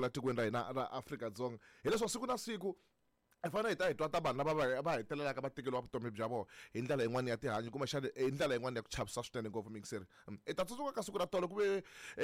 kwala tikweni ra hina ra Afrika-Dzonga. Hileswaku siku na siku hi fanele hi ta hi twa ta vanhu lava va hetelelaka va tekeriwa vutomi bya vona hi ndlela yin'wana ya tihanyi kumbexana hi ndlela yin'wana ya ku chavisa swinene ngopfu mixeri. I ta tsundzuka ka siku ra tolo ku ve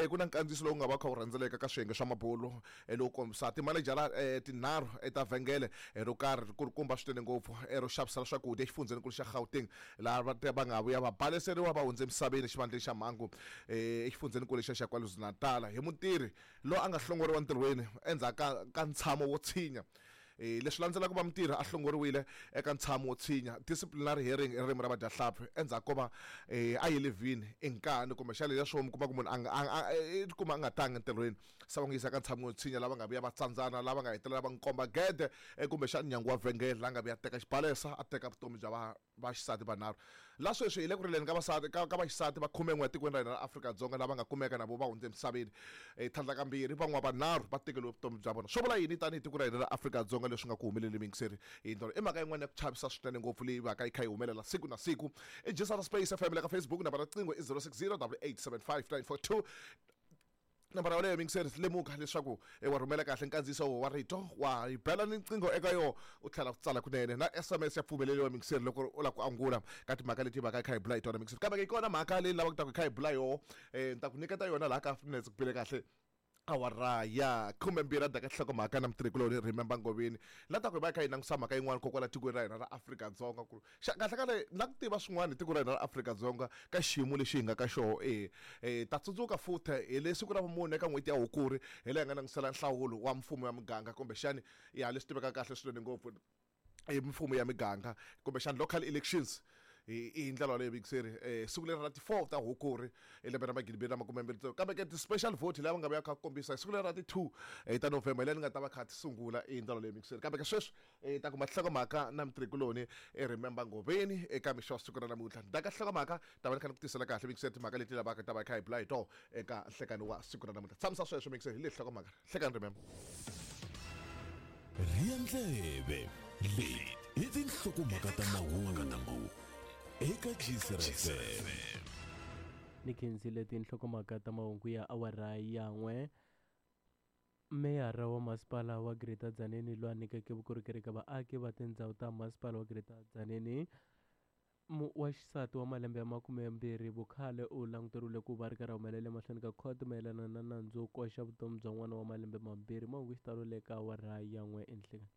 ku na nkandziyiso lowu nga va kha wu rhendzeleka ka swiyenge swa mabulo lowu kombisa timanejara tinharhu ta vhengele ro karhi ri kulukumba swinene ngopfu ro xavisela swakudya exifundzheninkulu xa Gauteng laha va va nga vuya va baleseriwa va hundze emisaveni exivandleni xa mhangu exifundzheninkulu lexiya xa KwaZulu-Natal hi mutirhi loyi a nga hlongoriwa ntirhweni endzhaku ka ntshamo wo tshinya. Leswi landzelaka va mutirhi a hlongoriwile eka ntshamo wo tshinya, disciplinary hearing hi ririmi ra vadyahlampfi, endzhaku ko va a ye levhini i nkani kumbexana leswo mi kuma ku munhu a nga a i tikuma a nga tangi entirhweni se va n'wi yisa ka ntshamo wo tshinya lava nga vuya va tsandzana lava nga hetelela va n'wi komba gede kumbexana nyangwa wa vhengele la nga vuya teka xibalesa a teka vutomi bya va vaxisati vanharhu. La sweswi hi le ku rileni ka vasati ka, ka vaxisati va khumen'we etikweni ra hina ra Afrika-Dzonga lava nga kumeka na vo va hundze emisaveni. Tlhandlakambirhi, van'wana vanharhu va tekeriwe vutomi bya vona. Swo vula yini tanihi tiko ra hina ra Afrika-Dzonga leswi nga ku humeleli muyingiseri hi ndlela? I mhaka yin'wana ya ku chavisa swinene ngopfu leyi vaka yi kha yi humelela siku na siku. I Gisara Space FM le ka Facebook, nambara ya riqingho i 060 8875 942. Nambara yoleyo muyingiseri, lemuka leswaku wa rhumela kahle nkandziyiso wa rito, wa yi bela ni nqingho eka yo u tlhela u tsala kunene. Na SMS ya pfumeleriwa muyingiseri loko u lava ku angula ka timhaka leti vaka yi kha yi bula hi tona muyingiseri. Kambe ke yi kona mhaka leyi ni lavaka ku ta ku hi kha hi bula yoho, ni ta ku nyiketa yona laha ka minetse ku bile kahle awara ya 12 a daka nhlokomhaka na mutirhikuloni Remember Ngoveni. La ta ku hi va hi kha hi langusa mhaka yin'wana kokwala tikweni ra hina ra Afrika-Dzonga ku xa kahle kahle na ku tiva swin'wana hi tiko ra hina ra Afrika-Dzonga ka xiyimo lexi hi nga ka xoho e e ta tsundzuka futhe hi le siku ra vumune eka n'hweti ya Hukuri hi laha hi nga langutisela nhlawulo wa mfumo ya muganga kumbexani ya leswi tivekaka kahle swinene ngopfu hi mfumo ya miganga kumbexani local elections hi ndlela yoleyo vuyingiseri siku leri ra ti 4 ta Hukuri hi lembe ra magidi mbirhi na makume mbirhi tsevu kambe ke ti-special vote lava nga vuya kha kombisa hi siku leri ra ti 2 ta November hi leyi ni nga ta va kha ti sungula hi ndlela leyi vuyingiseri kambe ke sweswi Hi ta kuma nhlokomhaka na mutirhikuloni e Remember Ngoveni eka mixo wa siku ra namuntlha. Ni ta ka nhlokomhaka ta va ni kha ni ku tisela kahle mixo timhaka leti lavaka ta va hi kha hi bula hi toho eka nhlekani wa siku ra namuntlha. Tshamisa sweswo mixo hi leyi nhlokomhaka. Nhlekani Remember. Rhiya ndleve, leti i tinhlokomhaka ta mahungu eka Gcr FM. Ni khensile tinhlokomhaka ta mahungu ya awara ya n'we. Meyara wa Masipala wa Greater Tzaneen loyi a nyikeke vukorhokeri eka vaaki va tindzhawu ta Masipala wa Greater Tzaneen, wa xisati wa malembe ya 20 vukhale u languteriwile ku va ri karhi a humelela emahlweni ka khoto mayelana na nandzu wo koxa vutomi bya n'wana wa malembe mambirhi. Mahungu hi xitalo le ka awara ya n'we enhlekani.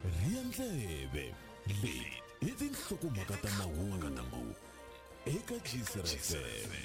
Rhiya ndleve, leti i tinhlokomhaka ta mahungu eka Gcr FM.